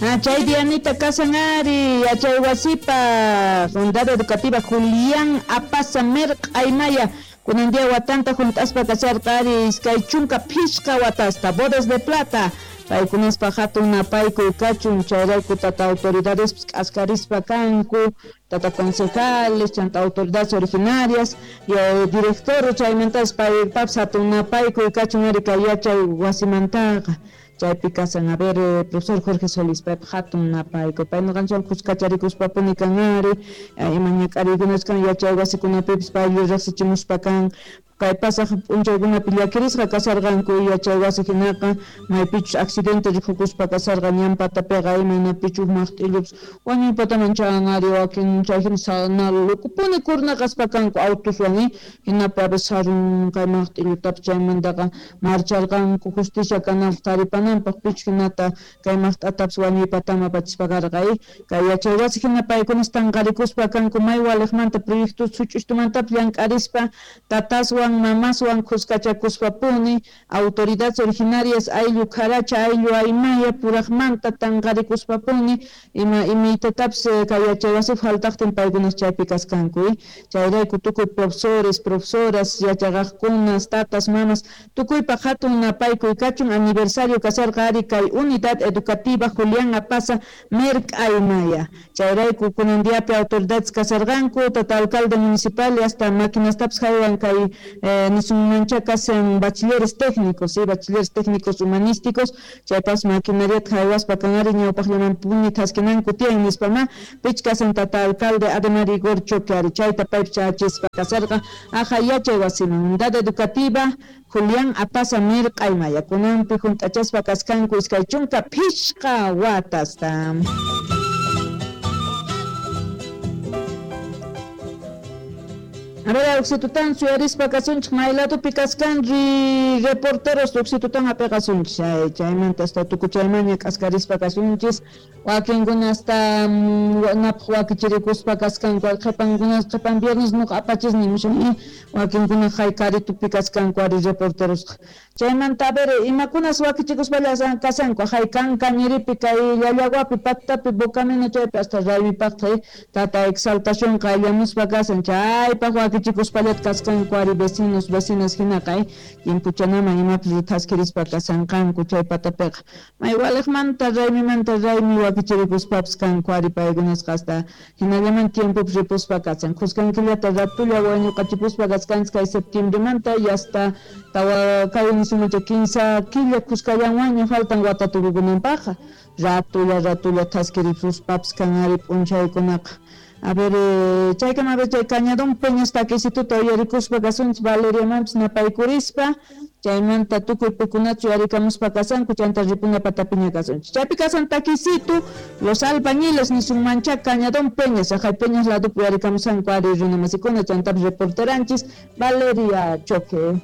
Chay Dianita kasan ari yachay wasipa Unidad Educativa Julián Apaza Merq'aymaya kunan día watanta hunt'aspa kasharqa ari 25 watasta bodas de plata paykunaspa hatun napaykuy kachun chayrayku tata autoridades k'askarispa kanku tata concejales chanta autoridades originarias y director chaymantas paypapas hatun napaykuy kachun ari kay yachay wasimantaqa chaypi kasan a ver profesor Jorge Solís paypa hatun napaykuy pay ñuqanchikwan kuskacharikuspa kan ari ima ñak'ariykunas kan yachay wasikunapipis pay riqsichimuspa kan kay pasaq p'unchaykunapi llakirisqa kasarqanku yachay wasi hinaqa maypichus accidente rikukuspa kasarqa ñan patapiqa imaynapichus maqt'illupas wañuypataman chan ari wakin chay hina lukupuni kurnaqaspa kanku autuswan hinapi a veces sarun kay maqt'illutapas chaymantaqa marcharqanku justicia kananpaq taripananpaq pichus hinata kay maqt'atapas wañuypataman apachispa karqa kay yachay wasi hina paykunas tanqarikuspa kanku may waliqmanta proyectos such'ustumantapas llank'arispa tataswan mamaswan kuskachakuspapuni autoridades originarias ayllu kharacha ayllu aymaya puraqmanta tanqarikuspapuni ima imaytatapis kay yachay wasipi faltaqtin paykunas chaypi kaskanku chayrayku tukuy profesores profesoras yachaqaqkunas tatas mamas tukuypaq hatun napaykuy kachun aniversario kasharqa ari kay Unidad Educativa Julián Apaza Merq'aymaya chayrayku kunan diapi autoridades kasharqanku tata alcalde municipal hasta maquinastapas haywan kay nisunmancha kasan bachilleres técnicos, ¿sí? Bachilleres técnicos humanísticos, chaypas maquinariata haywaspa kan ari ñawpaqllamanpuni thaskinanku tiyan nispama pich kasan tata alcalde Ademar Igor Choque ari chayta paypi chayachispa kasarqa aja yachay wasiman Unidad Educativa Julián Apaza Merq'aymaya kunanpi hunt'achaspa kaskanku 25 watasta. A ver, Oxitutan suyarispa kasunchik mayladupi kaskanri reporteros Oxitutan apiqasunchik chaymanta hasta tukuchaymanña k'askarispa kasunchis wakinkuna hasta napaq wakichirikuspa kaskanku qhipankuna qhipan viernes nuqa apachis nimushani wakinkuna haykaritupi kaskanku ari reporterosqa chaymanta a ver imakunas wakichikuspalla kasanku haykan kañiripi kay llallawapi patapi bocamino chaypi hasta raymipaqta tata exaltación qayllamuspa kasan chaypaq wakichikuspallata kaskanku ari vecinos vecinas hinaqa timpuchanaman imapis thaskirispa kasanqanku chay patapiqa may waliqmanta raymimanta raymi wakichirikuspapas kanku ari paykunasqa hasta hinallaman tiempopi ripuspa kasan kuskan killata ratulla wañuqachipuspa kaskanchik kay septiembremanta y hasta tawa kay nisumacha 15 killa kuskallanwanña faltan wata tukukunanpaqqa ratulla ratulla thaskiripuspapas kan ari p'unchaykunaqa. A ver, chaykama a ver chay Cañadón Peñas takisituta uyarikuspa kasunchik Valeriamanpis napaykurispa chaymanta tukuy pikunachu uyarikamuspa kasanku chanta ripuna patapiña kasunchik chaypi kasan takisitu los albañiles nisunmancha Cañadón Peñas ajay Peñas ladupi uyarikamusanku ari runamasikuna chantapis reporteranchis Valeria Choque.